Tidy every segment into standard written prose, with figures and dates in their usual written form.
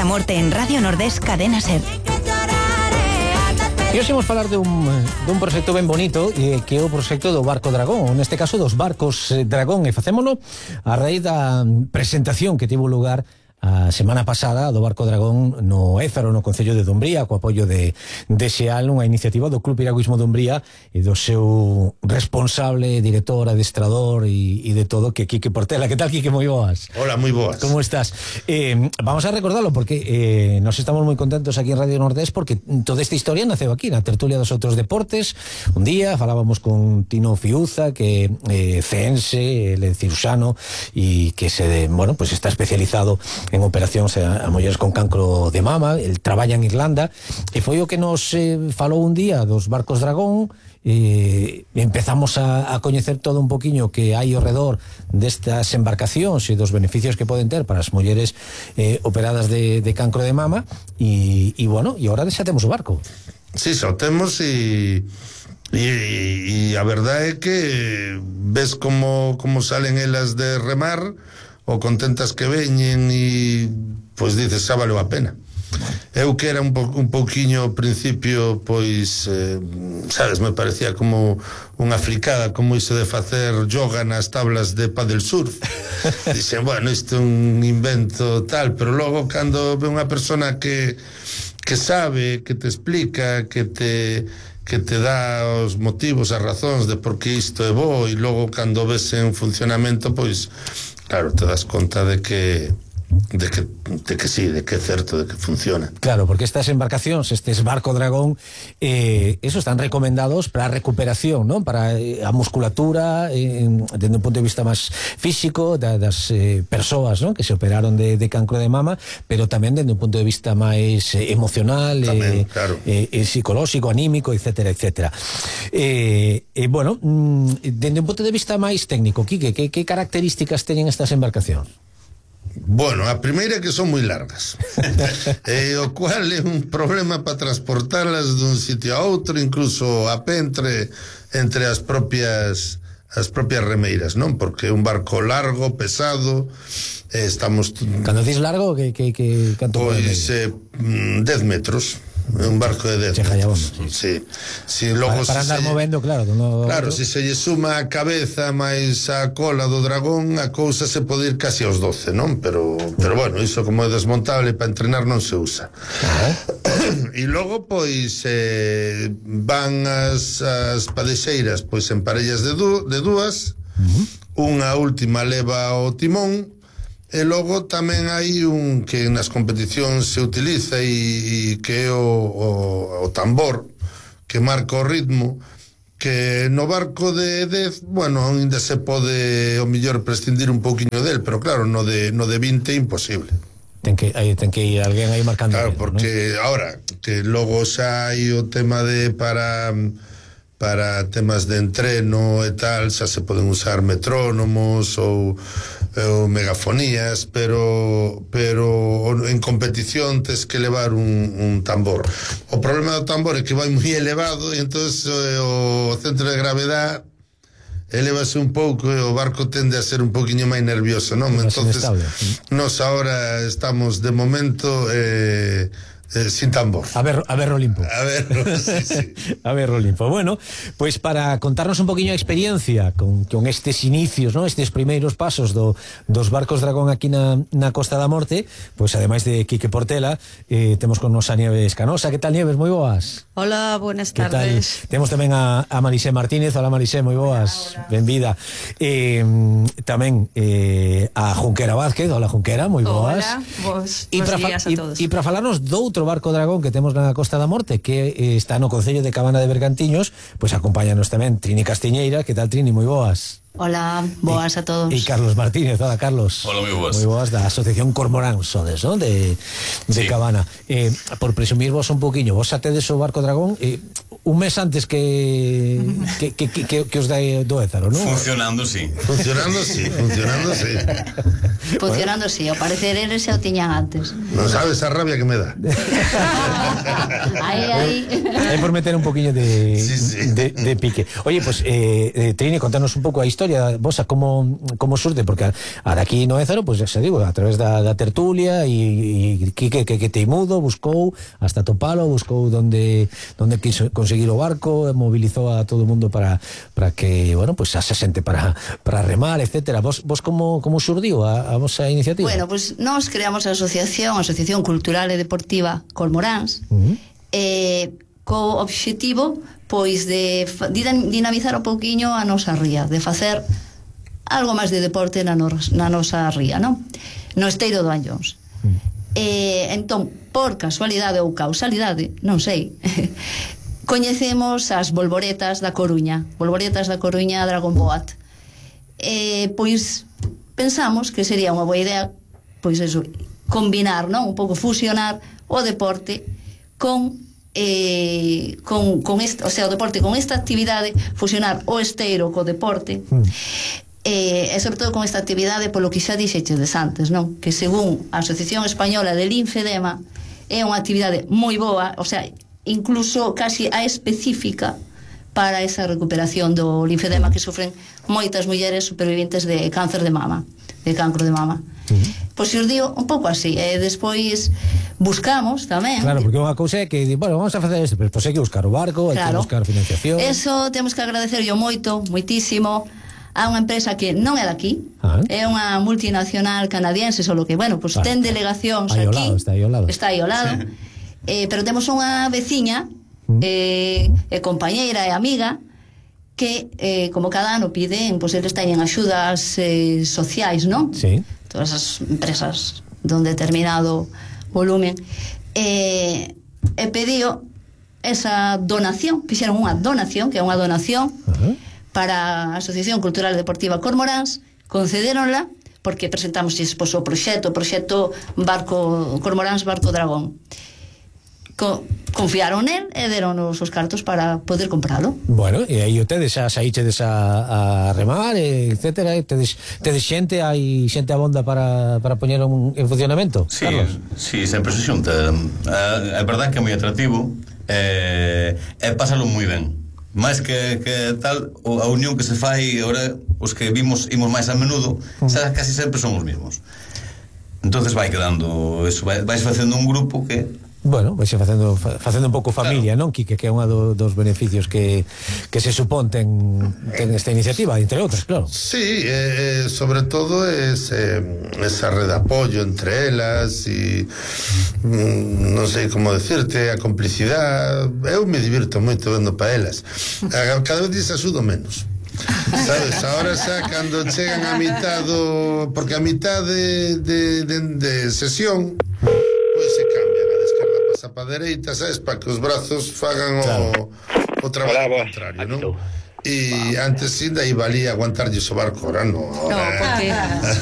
da Morte en Radio Nordés Cadena SER. E hoxe imos falar dun proxecto ben bonito que é o proxecto do Barco Dragón, neste caso dos barcos Dragón, e facémolo a raíz da presentación que tivo lugar a semana pasada do Barco Dragón no Ézaro, no Concello de Dumbría, co apoio de Xeal, unha iniciativa do Club Piragüismo Dumbría e do seu responsable, director, adestrador e de todo, que Quique Portela. Que tal, Quique? Moi boas. Hola, moi boas. Como estás? Vamos a recordarlo porque nos estamos moi contentos aquí en Radio Nordés porque toda esta historia naceu aquí na tertulia dos outros deportes. Un día falábamos con Tino Fiuza, que ceense, ele cirurxano e que pues está especializado en operacións a mulleres con cancro de mama. El traballa en Irlanda e foi o que nos falou un día dos barcos Dragón. Empezamos a coñecer todo un poquinho que hai ao redor destas embarcacións e dos beneficios que poden ter para as mulleres operadas de cancro de mama e agora xa temos o barco. Sí, xa o temos e a verdade é que ves como salen elas de remar o contentas que veñen e pois dices, xa valeu a pena. Eu que era un pouquiño ao principio, pois sabes, me parecía como unha fricada, como iso de facer yoga nas tablas de paddle surf. Dixen, bueno, isto é un invento tal, pero logo cando ve unha persona que sabe, que te explica, que te dá os motivos, as razóns de por que isto é bo, e logo cando ves en funcionamento, pois claro, te das conta de que sí, de que é certo, de que funciona. Claro, porque estas embarcacións, estes Barco Dragón, eso están recomendados para a recuperación, ¿no? Para a musculatura, desde un punto de vista máis físico das persoas, ¿no? Que se operaron de cancro de mama, pero tamén desde un punto de vista máis emocional, tamén, claro. Psicolóxico, anímico, etcétera, etcétera. Bueno, desde un punto de vista máis técnico, Quique, que características teñen estas embarcacións? Bueno, a primeira é que son moi largas o cual é un problema para transportarlas dun sitio a outro, incluso a pé entre as propias remeiras, non? Porque é un barco largo, pesado, estamos... Cando dis largo, que canto? Pois 10 metros. Un barco de 10 metros. Sí. Si logo para andar movendo, claro. Claro, se se lle suma a cabeza máis a cola do dragón, a cousa se pode ir casi aos 12, non? Pero bueno, iso como é desmontable para entrenar non se usa. E logo, pois, van as padexeiras, pois, en parellas de dúas, unha última leva o timón. E logo tamén hai un que nas competicións se utiliza e que é o tambor que marca o ritmo, que no barco de 10, bueno, ainda se pode o mellor prescindir un pouquiño del, pero claro, no de 20 é imposible. Ten que ir alguén aí marcando. Claro, porque ahora que logo xa hai o tema de para temas de entreno e tal, xa se poden usar metrónomos ou megafonías, pero en competición tes que levar un tambor. O problema do tambor é que vai moi elevado e entonces o centro de gravedade elevase un pouco e o barco tende a ser un poquinho máis nervioso, non? Entonces nos ahora estamos de momento sin tambor. A ver Olimpo. Sí. A ver Olimpo. Bueno, pues para contarnos un poquinho a experiencia con estes inicios, ¿no? Estes primeiros pasos dos barcos Dragón aquí na Costa da Morte, pues ademais de Quique Portela, temos con nos a Nieves Canosa. Que tal, Nieves? Moi boas. Hola, buenas tardes. Temos tamén a Marisé Martínez. Hola, Marisé, moi boas. Benvida. Tamén a Junquera Vázquez. Hola, Junquera, moi boas. Hola, bos días a todos. E para falarnos doutro Barco Dragón que temos na Costa da Morte, que está no Concello de Cabana de Bergantiños, pois acompáñanos tamén Trini Castiñeira. Que tal, Trini? Moi boas. Hola, boas a todos. E Carlos Martínez. Hola, Carlos. Hola, moi boas. Moi boas, da Asociación Cormorán, sodes, non? De sí. Cabana. Por presumir vos un poquinho, vos atedes o Barco Dragón un mes antes que os dai do Ézaro, non? Funcionando, sí. Funcionando, sí. Funcionando, sí. Ao parecer eles xa o tiñan antes. Non sabes a rabia que me dá. Aí. É por meter un poquinho de pique. Oye, pues, Trini, contanos un pouco a historia historia vosa como surte, porque a daqui no Ézaro, pois xa digo, a través da tertulia e Quique que teimudo buscou hasta topalo, buscou donde quiso conseguir o barco, mobilizou a todo o mundo para que, bueno, pois se xente para remar, etcétera. Vos como surdiu a vosa iniciativa? Bueno, pois nós creamos a Asociación Cultural e Deportiva Cormoráns, co obxectivo pois de dinamizar un pouquiño a nosa ría, de facer algo máis de deporte na nosa ría, non? No esteiro do Anllóns. Entón, por casualidade ou causalidade, non sei, coñecemos as Bolboretas da Coruña Dragon Boat. Pois pensamos que sería unha boa idea, pois eso, combinar, non? Un pouco fusionar o deporte con o sea, o deporte con esta actividade, fusionar o esteiro co deporte, e sobre todo con esta actividade polo que xa dixeches antes, non? Que según a Asociación Española de Linfedema é unha actividade moi boa, o sea, incluso casi a específica para esa recuperación do linfedema que sufren moitas mulleres superviventes de cáncer de mama, de cancro de mama. Pois os digo un pouco así, e despois buscamos tamén. Claro, porque unha cousa é que, bueno, vamos a facer isto, pero pois hai que buscar o barco, hai que buscar financiación. Eso temos que agradecerlo moitísimo a unha empresa que non é daqui, é unha multinacional canadiense, solo que, bueno, pois ten delegacións aquí. Está aí ao lado. Pero temos unha veciña, compañeira e amiga, que como cada ano piden, pois eles teñen axudas sociais, non? Sí. Todas as empresas de un determinado volumen, e pediu esa donación, fixeron unha donación, que é unha donación para a Asociación Cultural Deportiva Cormoráns, concedéronla porque presentamos o proxecto Cormoráns Barco Dragón. Confiaron nel e deronos os cartos para poder compralo. Bueno, e aí tedes xa saíchedes a remar, etcétera, tedes xente, hai xente abonda para poñer en funcionamento. Sí, Carlos? Sí, sempre se xunta. É verdad que é moi atractivo e pásalo moi ben. Mais que tal, a unión que se fai agora, os que imos máis a menudo, xa casi sempre son os mesmos. Entonces vai quedando eso, vais facendo un grupo que, bueno, vai facendo un pouco familia, claro. Non, Quique, que é unha dos beneficios que se supón ten esta iniciativa, entre outras, claro. Sí, sobre todo esa red de apoio entre elas e non sei como decirte, a complicidade. Eu me divirto moito vendo pa elas. Cada vez axudo menos, sabes, ahora xa cando chegan a mitad porque a mitad de sesión pois se cambian a descarga pasa pa dereita, sabes, para que os brazos fagan o traballo contrario, non? E antes ainda iba ali a aguantarlle o barco, ahora no.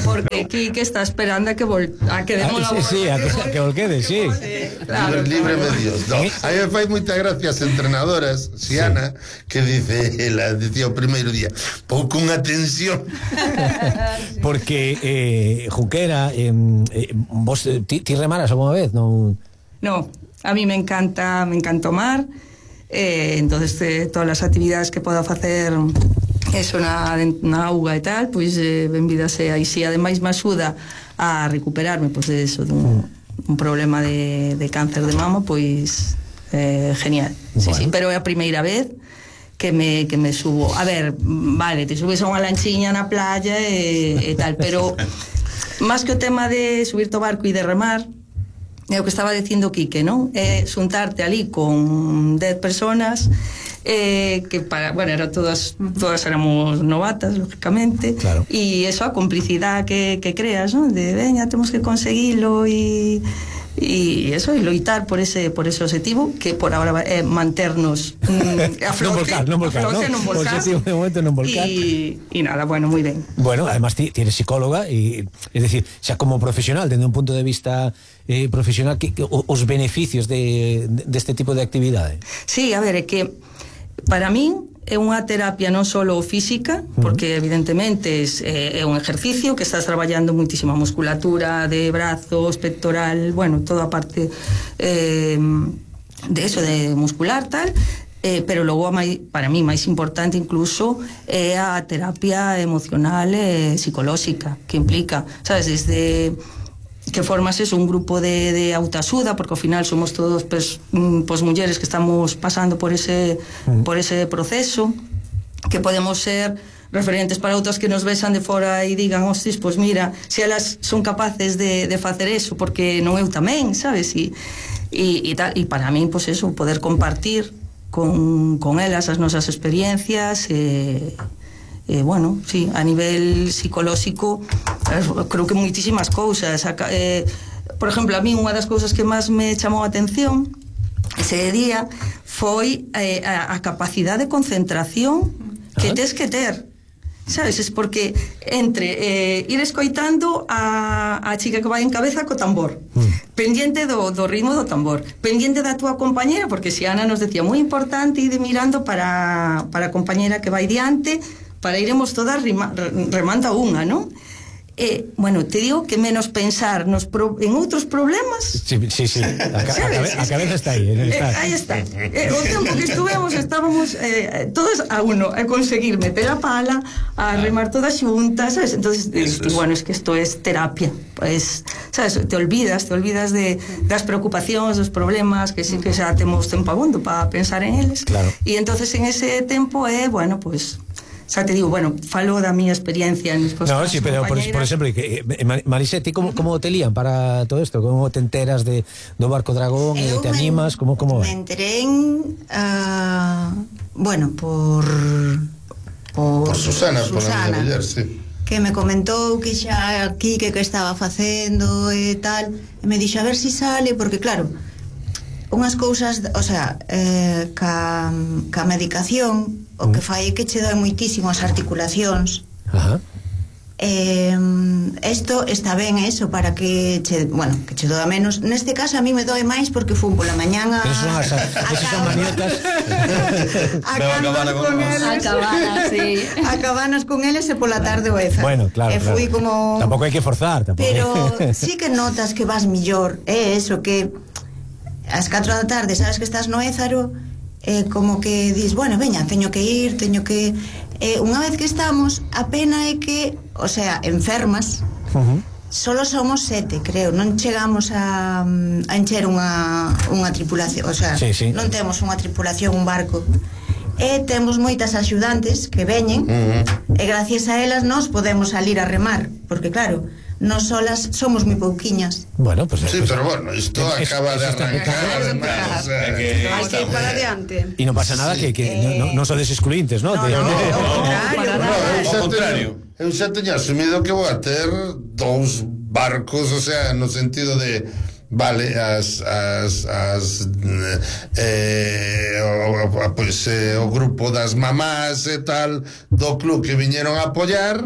Porque Quique está esperando a que demos la volta. Sí, a que volquede, sí. Claro, libre medios. No. A mí me fai moitas gracias entrenadoras, Xiana, que decía o primeiro día, pouco unha tensión. Porque Junquera, vos ti remaras alguna vez, non? No, a mí me encanta o mar. Entonces todas las actividades que poda facer eso na auga e tal, pois benvida sea, e si ademais me axuda a recuperarme pois de eso, dun problema de cáncer de mama, pois genial. Bueno. Sí, pero é a primeira vez que me subo. A ver, vale, te subes a unha lanchiña na playa e tal, pero máis que o tema de subirte ao barco e de remar, é o que estaba dicindo Quique, non? É xuntarte ali con 10 personas que era todas éramos novatas, lógicamente, claro. E eso, a complicidade que creas, non? De veña, temos que conseguilo e eso, e loitar por ese objetivo que por agora é manternos a flote, non volcar. O objetivo de momento non volcar. E nada, bueno, moi ben. Bueno, además ti eres psicóloga e, es decir, xa como profesional, dende un punto de vista profesional, os beneficios deste tipo de actividade. Sí, a ver, é que para min é unha terapia non só física, porque evidentemente é un ejercicio que estás traballando muitísima musculatura de brazos, pectoral, bueno, toda a parte de eso, de muscular, tal, pero logo para mí máis importante incluso é a terapia emocional e psicolóxica que implica, sabes, desde que formas eso, un grupo de autoaxuda, porque ao final somos todos pues mulleres que estamos pasando por ese proceso, que podemos ser referentes para outras que nos vexan de fora e digan, hostis, pues mira, se elas son capaces de facer eso, porque non eu tamén, sabes, e tal, e para mí, pues eso, poder compartir con elas as nosas experiencias bueno, sí, a nivel psicolóxico creo que moitísimas cousas por exemplo, a mí unha das cousas que máis me chamou a atención ese día foi a capacidade de concentración que tes que ter, sabes, es porque entre ir escoitando a chica que vai en cabeza co tambor, pendiente do ritmo do tambor, pendiente da túa compañera, porque si Ana nos decía moi importante ir mirando para a compañera que vai diante, para iremos todas remando a unha, non? Bueno, te digo que menos pensar en outros problemas. Sí. A cabeza está aí. Aí está. O tempo que estábamos todos a uno, a conseguir meter a pala, a remar todas xuntas, ¿sabes? Entonces, bueno, es que esto es terapia. Pues, ¿sabes? Te olvidas de das preocupacións, dos problemas, que sí que xa temos tempo abondo para pensar en eles. Claro. E entonces en ese tempo bueno, pues xa te digo, bueno, falo da miña experiencia en No, sí, pero por exemplo, Marise, ti como te lían para todo isto? Como te enteras do Barco Dragón e te animas? Como me enteré bueno, por Susana, por a miña muller, sí, que me comentou que xa aquí que estaba facendo e tal, e me dixo a ver si sale, porque claro, unhas cousas, o sea, ca medicación o que fai é que che doi moitísimo as articulacións. Ajá. Esto está ben eso para que che doa menos. Neste caso a mí me doe máis porque fun pola mañán a maniotas a cabanas con eles e pola tarde o Ézaro. Bueno, claro, fui como... Tampouco hai que forzar, pero sí que notas que vas millor. É eso que ás 4 da tarde sabes que estás no Ézaro, como que dis, bueno, veña, teño que ir, unha vez que estamos, a pena é que, o sea, enfermas, solo somos 7, creo, non chegamos a encher unha tripulación, o sea, sí. Non temos unha tripulación, un barco, e temos moitas axudantes que veñen, e gracias a elas nos podemos salir a remar, porque claro, nos solas somos moi pouquiñas. Bueno, pues sí, pero bueno, isto acaba de arrancar, además, hay que ir para adiante. Y no pasa nada que no sodes excluintes, ¿no? No, contrario. Eu xa teño asumido que vou a ter 2 barcos, o sea, no sentido de vale, o grupo das mamás e tal do club que viñeron a apoiar,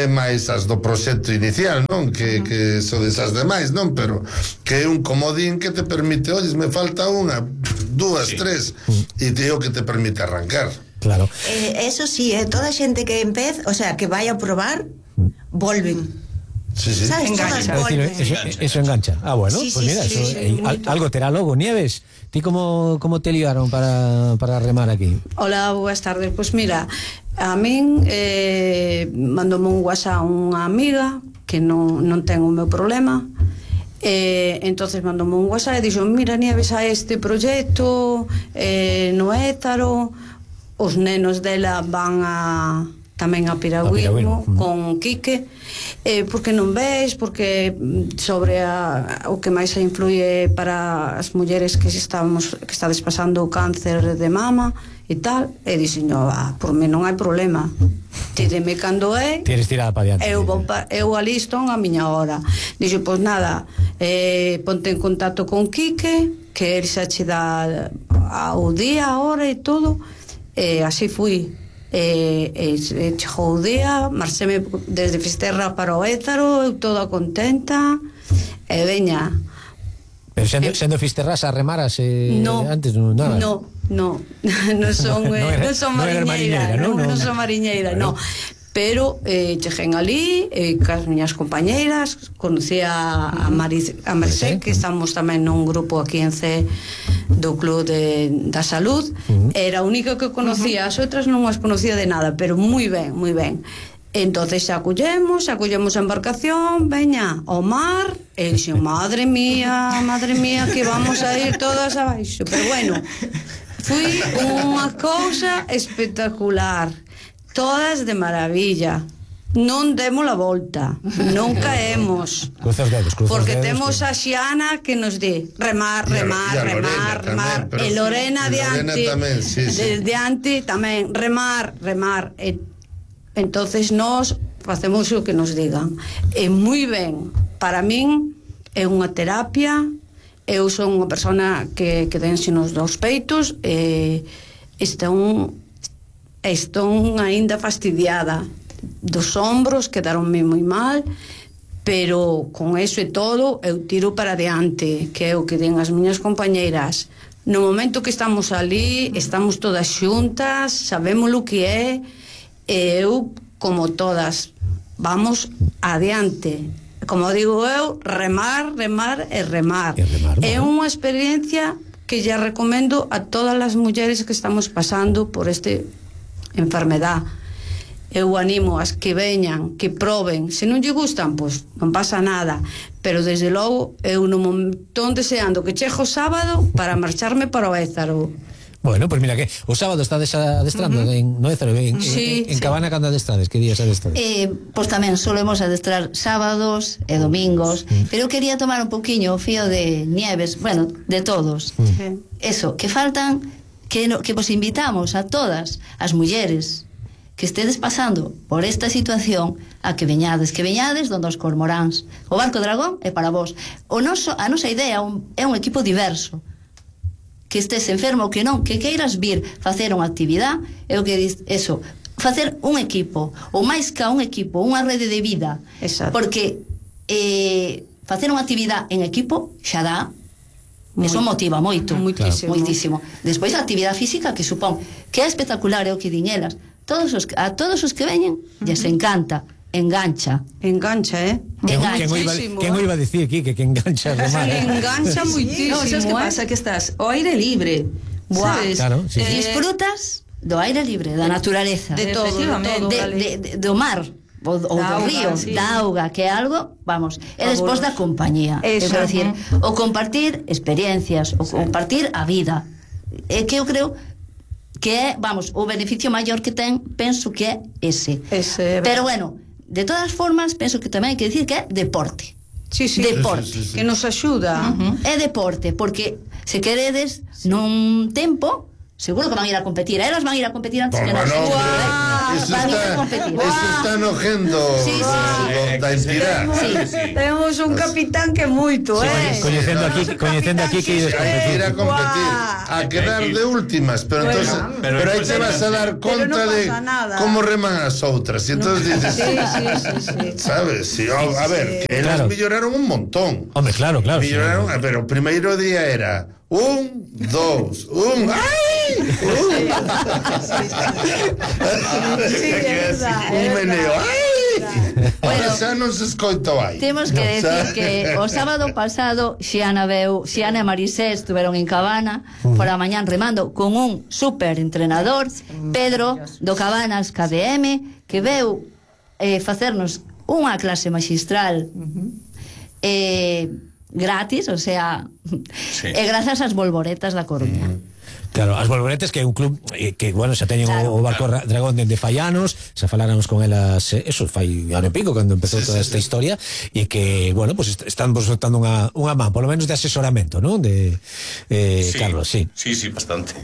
máis as do proxecto inicial, non? Que son desas demais, non? Pero que é un comodín que te permite, oyes, me falta unha, 2, 3, e te digo que te permite arrancar. Claro. Eso sí, toda a xente que o sea, que vai a probar, volven. Sí. Engancha. Eso engancha. Ah, bueno, sí, pues mira, sí, algo terá logo. Nieves, ti como te liaron para remar aquí? Hola, boas tardes. Pues mira, a min mandoume un WhatsApp unha amiga que non ten o meu problema, entonces mandoume un WhatsApp e dixo, mira, Nieves, a este proxecto no Ézaro, os nenos dela van tamén a piragüismo con Quique, porque non ves, porque sobre o que máis se influye para as mulleres que estades pasando o cáncer de mama e tal, e dixen, por mí non hai problema, tíreme cando é, tires tirada para diante, eu alisto a miña hora. Dixo, pois nada, ponte en contacto con Quique, que el xa che dá o día, a hora e todo, e así fui. Chegou o día, marcheme desde Fisterra para o Ézaro, eu toda contenta, e veña. Pero sendo Fisterras a remaras antes nada. Non son mariñeira, non son mariñeira, non. Pero cheguen ali cas miñas compañeiras, conocí a Maricé, que estamos tamén nun grupo aquí en C do Club da Salud. Era a única que conocía, as outras non as conocía de nada, pero moi ben, moi ben. Entonces acollemos a embarcación, veña ao mar, e dixo, madre mía, que vamos a ir todas abaixo. Pero bueno, foi unha cousa espectacular, todas de maravilla. Non demos a volta, non caemos, porque temos a Xiana que nos di remar, e Lorena diante tamén remar, e entonces nós facemos o que nos digan. É moi ben, para min é unha terapia. Eu son unha persona que dense nos dous peitos, e estou aínda fastidiada dos ombros, quedaronme moi mal, pero con eso e todo eu tiro para adiante, que é o que den as miñas compañeiras. No momento que estamos ali, estamos todas xuntas, sabemos o que é, e eu, como todas, vamos adiante. Como digo eu, remar. É unha experiencia que ya recomendo a todas as mulleres que estamos pasando por este enfermedad. Eu animo as que veñan, que proben. Se non lle gustan, pois non pasa nada, pero desde logo eu non estou deseando que chegue o sábado para marcharme para o Ézaro. Bueno, pues mira que o sábado estades adestrando en Ézaro, en Cabana, cando adestrades, que días adestrades? Pois tamén solemos adestrar sábados e domingos, pero eu quería tomar un poquinho o fío de Nieves, bueno, de todos. Eso, que faltan, que vos invitamos a todas as mulleres que estedes pasando por esta situación a que veñades donde os cormoráns. O Barco Dragón é para vos. A nosa idea é un equipo diverso, que estés enfermo ou que non, que queiras vir facer unha actividade, é o que diz eso, facer un equipo, ou máis que un equipo, unha rede de vida. Exacto. Porque facer unha actividade en equipo xa dá, eso motiva moito, moitísimo. Despois a actividade física, que supón que é espectacular, é o que din elas, a todos os que veñen lles encanta, engancha, Quen o iba a dicir aquí que engancha remar? Engancha moitísimo. No, sabes que pasa? Que estás ao aire libre, sabes? Claro, sí. Disfrutas do aire libre, da naturaleza, de todo, do mar, ou do río, da auga, que é algo, vamos, e despois da compañía. É decir, o compartir experiencias, o compartir a vida. É que eu creo que é, vamos, o beneficio maior que ten, penso que é ese. Pero bueno, de todas formas, penso que tamén hai que decir que é deporte. Deporte. Que nos axuda. É deporte, porque se queredes nun tempo, seguro que van a ir a competir. Elas van a ir a competir antes que nós. Eso está enojendo da entidade. Temos un capitán que moito, Coñecendo aquí que ides competir. Ir a competir, a quedar de últimas, pero entonces, pero aí te vas a dar conta de como reman as outras. E entonces dices, sabes, a ver, que elas melloraron un montón. Hombre, claro. Melloraron, pero o primeiro día era 1, 2, 1, ¡ay! Un meneo, ¡ay! Bueno, xa non se escoito aí. Temos que decir que o sábado pasado Xiana e Marisé estuveron en Cabana por a mañán remando con un super entrenador, Pedro do Cabanas KDM, que veu facernos unha clase magistral gratis, o sea, e grazas ás Bolboretas da Coruña. Claro, as Bolboretas, que é un club que, bueno, xa teñen o Barco Dragón dende fai anos, xa faláramos con elas, eso fai ano e pico cando empezou toda esta historia, e que, bueno, pues están vos soltando unha man, polo menos de asesoramento, non? Carlos, sí, bastante.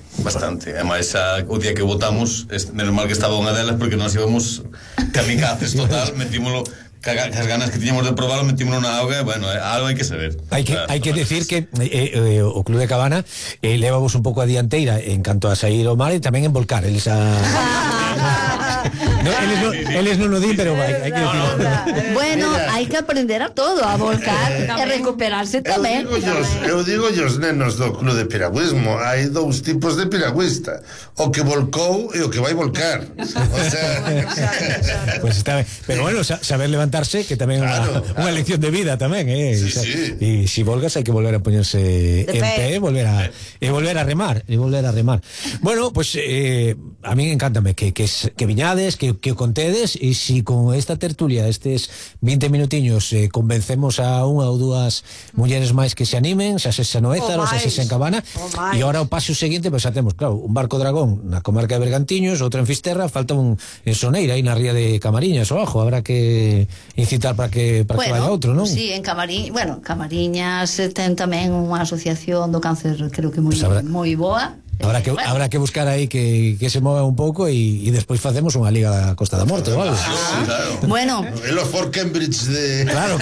Ademais, o día que votamos, menos mal que estaba unha delas, porque nós íbamos kamikazes total, metímolo as ganas que tiñamos de probarlo, metímonos na auga, bueno, algo hai que saber. Hai que decir que o Club de Cabana levamos un pouco a dianteira en canto a sair ao mar e tamén en volcar eles Eles non o din, pero hai que dicirlo. Bueno, hai que aprender a todo, a volcar e recuperarse tamén. Eu digo os nenos do club de piragüismo, hai dous tipos de piragüista, o que volcou e o que vai volcar. O sea, pues está ben. Pero bueno, saber levantarse, que tamén é unha lección de vida tamén, Sí. E si volgas hai que volver a poñerse en pé e volver a remar, Bueno, pues a mí encántame que viñades, que o contedes, e si con esta tertulia, estes 20 minutiños, convencemos a unha ou dúas mulleres máis que se animen, xa se no Ézaro, xa se en Cabana, e ahora o paso seguinte, pues xa temos, claro, un barco dragón na comarca de Bergantiños, outro en Fisterra, falta un en Soneira, aí na ría de Camariñas, abajo, habrá que incitar para que vaya outro, non? Sí, en Camariñas ten tamén unha asociación do cáncer, creo que moi boa. Habrá que buscar aí que se mova un pouco e despois facemos unha liga da Costa da Morte, vale? Claro. Bueno, el Fort Cambridge de... Claro.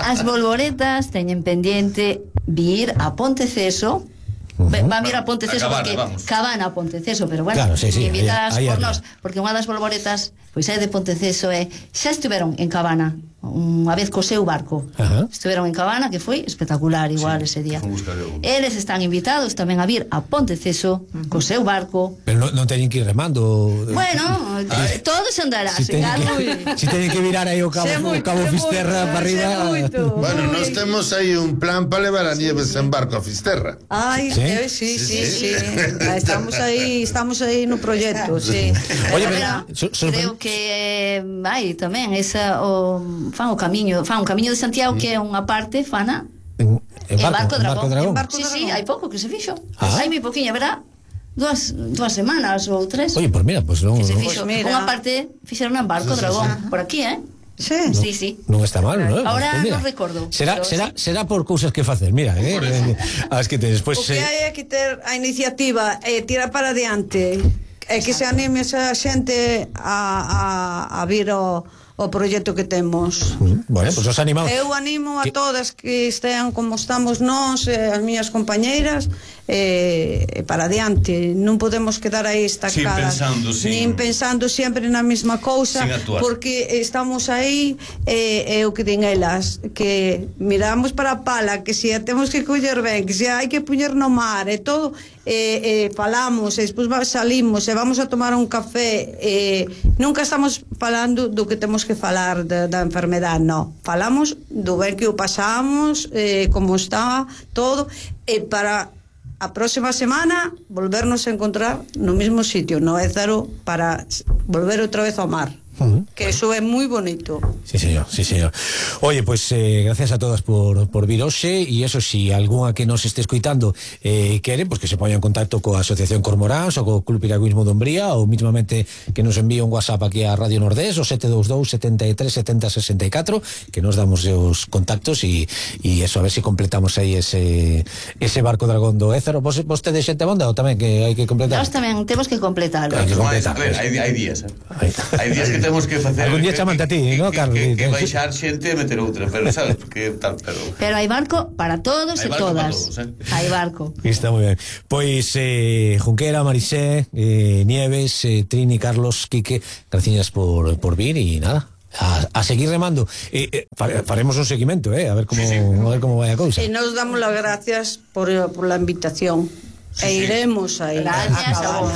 As bolboretas teñen pendiente vir a Ponteceso. Va a ir a Ponteceso porque Cabana a Ponteceso, pero bueno, claro, sí, invitadas por nós, porque unha das bolboretas pois é de Ponteceso e xa estiveron en Cabana unha vez co seu barco. Estiveron en Cabana, que foi espectacular igual ese día. Eles están invitados tamén a vir a Ponteceso co seu barco. Pero non teñen que ir remando. Bueno, todo se andará. Si teñen que virar aí o cabo Fisterra para arriba. Bueno, nós temos aí un plan para levar a Nieves en barco a Fisterra. Ai, sí. Estamos aí no proxecto, sí. Oye, creo que hai tamén esa fan un camiño de Santiago, que é unha parte fana en Barco Dragón. Sí, hai pouco que se fixo. Hai moi poquinho, verdad? Dúas semanas ou tres. Oye, pues mira, pues non. Que se fixo. Unha parte fixeron en Barco Dragón, por aquí, Sí. Non está mal, non? Ahora non recordo. Será por cousas que facer, mira, as que despois o que hai que ter a iniciativa e tirar para adiante. É que se anime esa xente a vir o proxecto que temos. Bueno, pues os animamos. Eu animo a todas que estean como estamos nós, as miñas compañeiras, para adiante. Non podemos quedar aí estacadas, nin pensando sempre na mesma cousa, porque estamos aí, o que din elas, que miramos para a pala, que se a temos que coller ben, que se hai que puñer no mar e todo, falamos, e despois salimos e vamos a tomar un café, nunca estamos falando do que temos que falar da enfermedade, non, falamos do ben que o pasamos, como está todo, e para a próxima semana volvernos a encontrar no mismo sitio, no Ézaro, para volver outra vez ao mar. Que eso é moi bonito. Sí, señor. Oye, pues gracias a todas por vir hoxe, e eso, si algunha que nos este escoitando quere, pues que se poña en contacto coa Asociación Cormoráns ou co Club Piragüismo de Umbría, ou mismamente que nos envíe un WhatsApp aquí a Radio Nordés, o 722 73 70 64, que nos damos os contactos e eso, a ver si completamos aí ese barco dragón do Ézaro. Vos tedes xente bonda ou tamén que hai que completar? Nós tamén temos que completarlo. Hai días, hai días que temos que facer. Algún día chamante a ti, ¿no, Carlos? Que baixar xente e meter outra, pero sabes, porque tal, pero hai barco para todos e todas. Hai barco. Está moi ben. Pois Junquera, Marisé, Nieves, Trini, Carlos, Quique, gracias por vir e nada. A seguir remando. Faremos un seguimento, a ver como vai a cousa. E nos damos las gracias por la invitación. Iremos aí. Gracias a vos.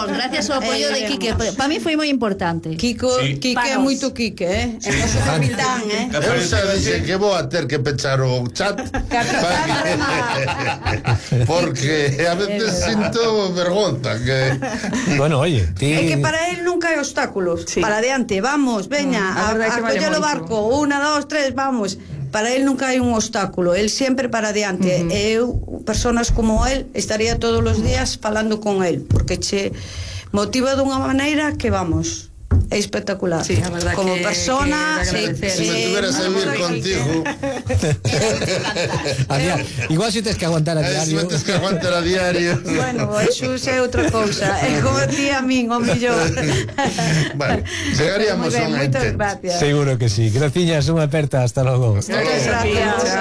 Gracias ao apoio de Quique. Para mí foi moi importante. Quique é moito Quique, é noso capitán, Eu xa dixen que vou a ter que pechar o chat porque a veces sinto vergonza que... Bueno, oye, é que para él nunca hai obstáculos. Para adiante, vamos, veña, a coller o barco, 1, 2, 3, vamos. Para él nunca hai un obstáculo, él sempre para adiante. Eu, personas como él, estaría todos os días falando con él, porque che motiva dunha maneira que vamos, é espectacular. Sí, a verdad como que persona, si me tuvieras a vivir contigo. Igual si tens que aguantar a diario. Si me tens que aguantar a diario. Bueno, eso é outra cousa. É como ti a min, o millón. Vale, chegaríamos a un entente. Gracias. Seguro que sí. Graciñas, unha aperta, hasta logo. Muchas gracias.